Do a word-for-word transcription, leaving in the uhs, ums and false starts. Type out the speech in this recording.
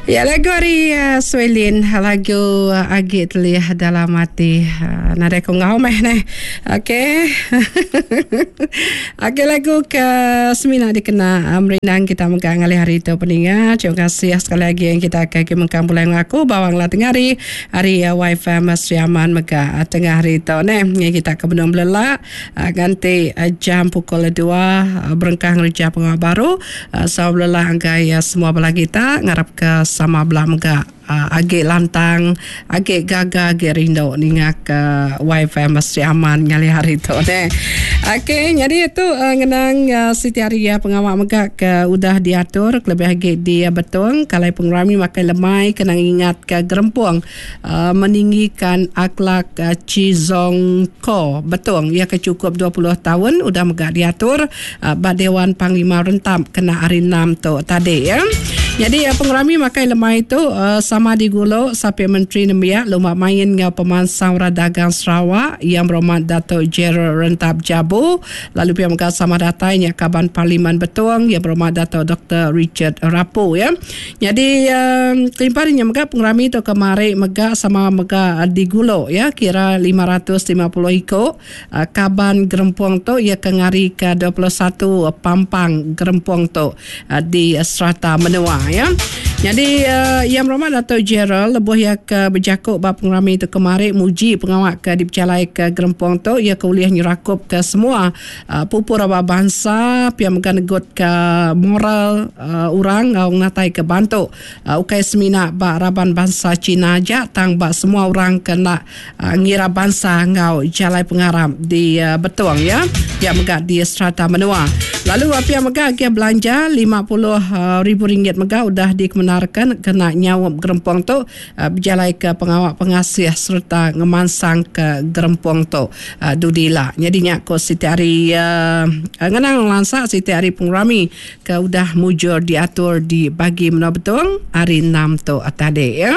Ya, lagu ari uh, Swelin, lagu uh, Agi Telih Dalam Ati. Uh, nadai ku ngau meh neh. Okey. Okey, lagu ke semina dikena uh, merindang kita mega ngalih hari tu peninga. Terima kasih sekali lagi yang kita ke ke mengkang pulai ngaku bawang lah tengah hari hari uh, Wifi Mas Riaman mega uh, tengah hari tu neh. Ngi kita ke benung belelak uh, ganti uh, jam pukul dua uh, berengkah ngereja pengawa baru. Uh, so belelak anggai uh, semua bala kita ngarap ke sama belah mega uh, agi lantang, agi gaga, agi rindu ninga ke Wifi Mas Aman ngalih hari tu deh. Okey, jadi itu uh, ngenang uh, siti hari ya pengawak mega ke udah diatur lebih agi di uh, Betong kalai pengerami makai lemai kena ingat ke gerempung uh, meninggikan akhlak uh, Chizong Ko Betong ia ke cukup dua puluh tahun udah mega diatur uh, ba Dewan Panglima Rentap kena hari enam tu tadi ya. Jadi uh, pengerami makai lemai itu uh, sama diguluk Sapit Menteri Nembiak Lumba Main ngau Pemansang Orang Dagang Sarawak yang berhormat Datuk Gerald Rentap Jabu, lalu pihak mega sama datainya Kaban Parlimen Betong yang berhormat Datuk Doktor Richard Rapu ya. Jadi um, kelimpahannya mega pengerami itu kemari mega sama mega diguluk ya kira lima ratus lima puluh iko uh, Kaban Gerempung tu ia ke ngari ke dua puluh satu Pampang Gerempung tu uh, di serata menua ya. Jadi uh, yang berhormat Datuk Gerald lebuh ia ke berjakuk bab pengerami itu kemari muji pengawak ke dipercalai ke Gerempung tu ia ke ulih nyerakup ke semua uh, pupur aba bangsa pia mega negut ke moral uh, orang ngau ngatai ke bantu uh, ukai semina ba raban bangsa Cina aja tang ba semua orang kena uh, ngira bangsa ngau jalai pengaram di uh, Betong ya pia mega di serata menua. Lalu pia mega ke belanja lima puluh ribu ringgit mega udah dikemenarkan kena nyawap gerempung tu uh, berjalai ke pengawak pengasih serta ngemansang ke gerempung tu uh, dudila. Jadi nyak ko siti hari uh, ngenang lansak siti hari pengerami ke udah mujur diatur di bagi menua Betong hari enam tu tadi ya.